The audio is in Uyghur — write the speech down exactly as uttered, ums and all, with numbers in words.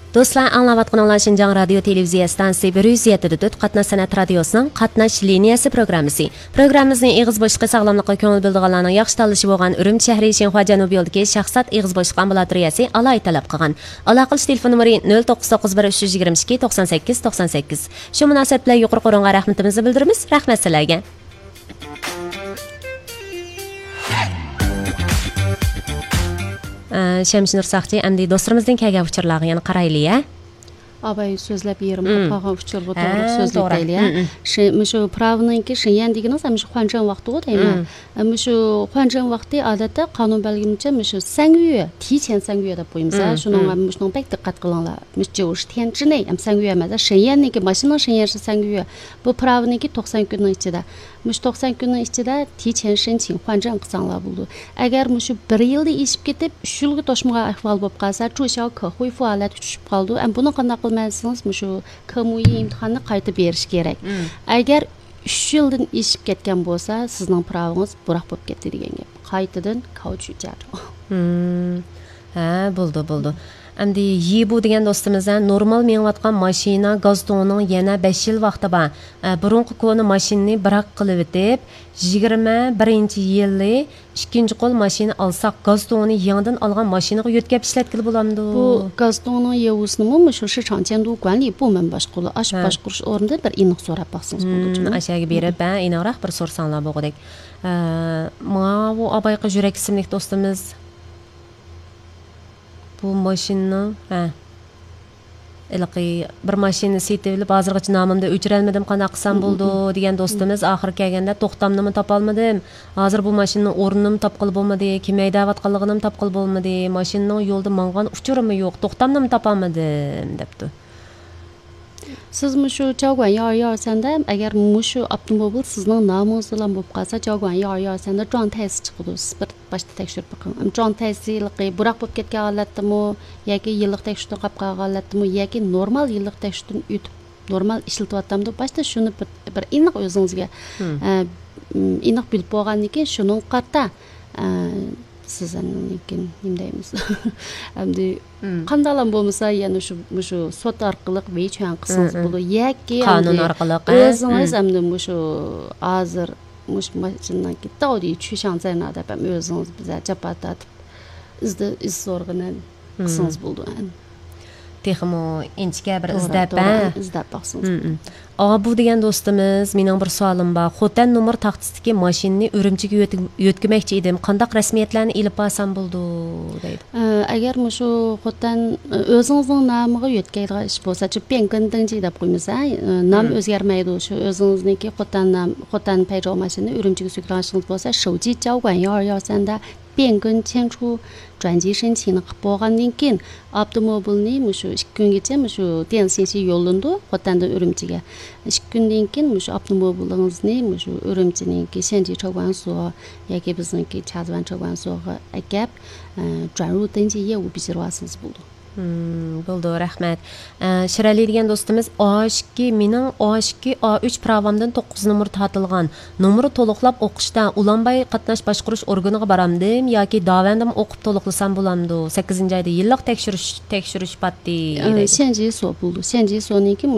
دوستلار، ئاڭلاۋاتقىنىڭلار شىنجاڭ رادىيو تېلېۋىزىيە ئىستانسىسى بىر يۈز يەتتە نۆقتە تۆت قاتناش سەنئەت رادىيوسىنىڭ قاتناش لىنىيەسى پروگراممىسى. پروگراممىمىزنى ئېغىز بوشلۇقى ساغلاملىققا كۆڭۈل بۆلىدىغانلارنىڭ ياخشى تاللىشى بولغان ئۈرۈمچى شەھىرى شىنخۇا جەنۇبىي يولىدىكى شاھزات ئېغىز بوشلۇق ئامبۇلاتورىيەسى ئالاھىدە تەلەپ قىلغان. ئالاقىلىشىش تېلېفون نومۇرى نۆل توققۇز توققۇز بىر ئۈچ يۈز يىگىرمە ئىككى توقسان سەككىز توقسان سەككىز. شۇ مۇناسىۋەت بىلەن يۇقىرىقى ئورۇنغا رەھمىتىمىزنى بىلدۈرىمىز. رەھمەت سىلەرگە. ئە، شەمشىنۇر ساقچى، ئەمدى دوستلىرىمىزدىن كەلگەن ئۇچۇرلارغا يەنە قارايلى، ھە؟ ئاباي سۆزلەپ يېرىم مم. قالغان ئۇچۇرغا ھە، توغرا سۆزلەپ توغرا. دەيلى، ھە؟ مم، مم. شى-، مۇشۇ پىراۋنىڭكى شېنيەن دېگىنىڭىز، ھەم شۇ خۇەنجېن ۋاقتىغۇ دەيمەن. مم. ھەم شۇ خۇەنجېن ۋاقتى ئادەتتە قانۇن بەلگىلىمىچە مۇشۇ سەڭيۈە، تىچيەن سەڭيۈە دەپ قويىمىز، ھە؟ مم، شۇنىڭغا مم. مۇشۇنىڭ بەك دىققەت قىلىڭلار. مۇشۇ جيۇشى تيەنچىنى، ھەم سەڭيۈە ئەمەس، شېنيەننىڭكى ماشىنىنىڭ شېنيەنشى سەڭيۈە. بۇ پىراۋنىڭكى توقسان كۈننىڭ ئىچىدە. مۇشۇ توقسان كۈننىڭ ئىچىدە تىچيەن شېنچىڭ خۇەنجېن قىلساڭلار بولىدۇ. ئەگەر مۇشۇ بىر يىلدا ئېشىپ كېتىپ، ئۈچ يىلغا توشمىغان ئەھۋال بولۇپ قالسا، چۇشياۋ كېخۇيفۇ ھالەتكە چۈشۈپ قالىدۇ. ئەمما بۇنى قانداق قىلىمەن دېسىڭىز، مۇشۇ كېمۇيى ئىمتىھاننى قايتا بېرىش كېرەك. مم. ئەگەر ئۈچ يىلدىن ئېشىپ كەتكەن بولسا، سىزنىڭ پىراۋىڭىز بۇراق بولۇپ كەتتى دېگەن گەپ. قايتىدىن كاۋچۇ جاجۇ. مم. ھە، بولدى، بولدى. ئەمدى يىبۇ دېگەن دوستىمىز، ھە، نورمال مېڭىۋاتقان ماشىنا گاز تۇڭىنىڭ يەنە بەش يىل ۋاقتى بار. ئە، بۇرۇنقى كونا ماشىنىنى بىراق قىلىۋېتىپ، يىگىرمە بىرىنچى يىلى ئىككىنچى قول ماشىنا ئالساق، گاز تۇڭىنى يېڭىدىن ئالغان ماشىنىغا يۆتكەپ ئىشلەتكىلى بولامدۇ؟ بۇ گاز تۇڭىنىڭ يېۋۇسىنىمۇ مۇشۇ شىچاڭ چيەندۇ گۇەنلى بۇ مەن باشقۇرۇلۇ، ئاش ھە. باشقۇرۇش ئورنىدا بىر ئېنىق سوراپ باقسىڭىز بولىدۇ. مم، ئاشۇ يەرگە بېرىپ، ھە، ئېنىقراق بىر سورىساڭلار بولغۇدەك. ئە، ماۋۇ ئابايقا يۈرەك ئىسىملىك دوستىمىز بۇ ماشىنىنىڭ، ھە، ھېلىقى بىر ماشىنىنى سېتىۋېلىپ، ھازىرغىچە نامىمنى ئۆچۈرەلمىدىم، قانداق قىلسام بولىدۇ دېگەن دوستىمىز ئاخىرى كەلگەندە، توختامنىمۇ تاپالمىدىم، ھازىر بۇ ماشىنىنىڭ ئورنىنىمۇ تاپقىلى بولمىدى، كىم ھەيدەۋاتقانلىقىنىمۇ تاپقىلى بولمىدى، ماشىنىنىڭ يولدا ماڭغان ئۇچۇرىمۇ يوق، توختامنىمۇ تاپالمىدىم، دەپتۇ. سىز مۇشۇ جاۋگۇەن يار يار سەندە، ئەگەر مۇشۇ ئاپتوموبىل سىزنىڭ نامىڭىز بىلەن بولۇپ قالسا، جاۋگۇەن يار يار سەندە جۇاڭ تەيسى چىقىدۇ. سىز بىر باشتا تەكشۈرۈپ بېقىڭ. جۇاڭ تەيسى ھېلىقى بۇراق بولۇپ كەتكەن ھالەتتىمۇ، ياكى يىللىق تەكشۈرتۈن قاپ قالغان ھالەتتىمۇ، ياكى نورمال يىللىق تەكشۈرتۈن ئۆتۈپ، نورمال ئىشلىتىۋاتامدۇ؟ باشتا شۇنى بىر، بىر ئېنىق ئۆزىڭىزگە، مم. ئە، ئېنىق بىلىپ بولغاندىن كېيىن شۇنىڭغا قارىتا، ئە، سىز ئاندىن كېيىن نېمە دەيمىز؟ ئەمدى مم. قانداقلام بولمىسا، يەنە شۇ، مۇشۇ سوت ئارقىلىق ۋېيچۈەن قىلسىڭىز مم، مم. بولىدۇ. ياكى قانۇن ئەمدى ئارقىلىق، ھە؟ ئۆزىڭىز مم. ئەمدى مۇشۇ ھازىر مۇشۇ ماشىنىنىڭكى داۋدى چۈشەڭزەينا دەپ ھەم ئۆزىڭىز بىزە جاپا تارتىپ ئىزدە-، ئىز سورىغىنى مم. قىلسىڭىز بولىدۇ. تېخىمۇ ئىنچىكە بىر توغرا، ئىزدەپ، توغرا، ھە؟ ئىزدەپ باقسىڭىز. مم، مم. ئابۇ دېگەن دوستىمىز، مېنىڭ بىر سوئالىم بار. خوتەن نومۇر تاختىسىدىكى ماشىنىنى ئۈرۈمچىگە يۆتك-، يۆتكىمەكچى ئىدىم. قانداق رەسمىيەتلەرنى ئېلىپ بارسام بولىدۇ؟ دەيدۇ. ئە، ئەگەر مۇشۇ خوتەن، ئە، ئۆزىڭىزنىڭ نامىغا يۆتكەيدىغان ئىش بولسا، چۈ پيەنگېن دېڭجى دەپ قويىمىز، ھە؟ ئە، نام مم. ئۆزگەرمەيدۇ. شۇ ئۆزىڭىزنىڭكى خوتەن نام، خوتەن پەيجاۋ ماشىنىنى ئۈرۈمچىگە سۆكىدىغان ئىشىڭىز بولسا، شوۋجى جاۋگۇەن يار يار سەندە پيەنگېن چيەنچۇ جۇەنجى شېنچىنى قىلىپ بولغاندىن كېيىن، ئاپتوموبىلنى مۇشۇ ئىككى كۈنگىچە مۇشۇ ديەنسىنشى يوللىنىدۇ، خوتەندىن ئۈرۈمچىگە. ئىككى كۈندىن كېيىن مۇشۇ ئاپتوموبىلىڭىزنى مۇشۇ ئۈرۈمچىنىڭكى شەنجى چاۋگۇەنسۇ ياكى بىزنىڭكى چازۋەن چاۋگۇەنسۇغا ئەكەپ، ئە، جۇەنرۇ دېڭجى يەۋۇ بېجىرىۋالسىڭىز بولىدۇ. مم، بولىدۇ، رەھمەت. ئە، شىرئەلى دېگەن دوستىمىز، ئا ئىككى، مېنىڭ ئا ئىككى، ئا ئۈچ پىراۋامدىن توققۇز نومۇر تارتىلغان. نومۇرى تولۇقلاپ ئوقۇشتا ئۇلانباي قاتناش باشقۇرۇش ئورگىنىغا بارامدىم ياكى داۋەندىمۇ ئوقۇپ تولۇقلىسام بولامدۇ؟ سەككىزىنچى ئايدا يىللىق تەكشۈرۈش، تەكشۈرۈش پاتتى ئە، دەيدۇ. شەنجى سو بولىدۇ. شەنجى سونىڭكى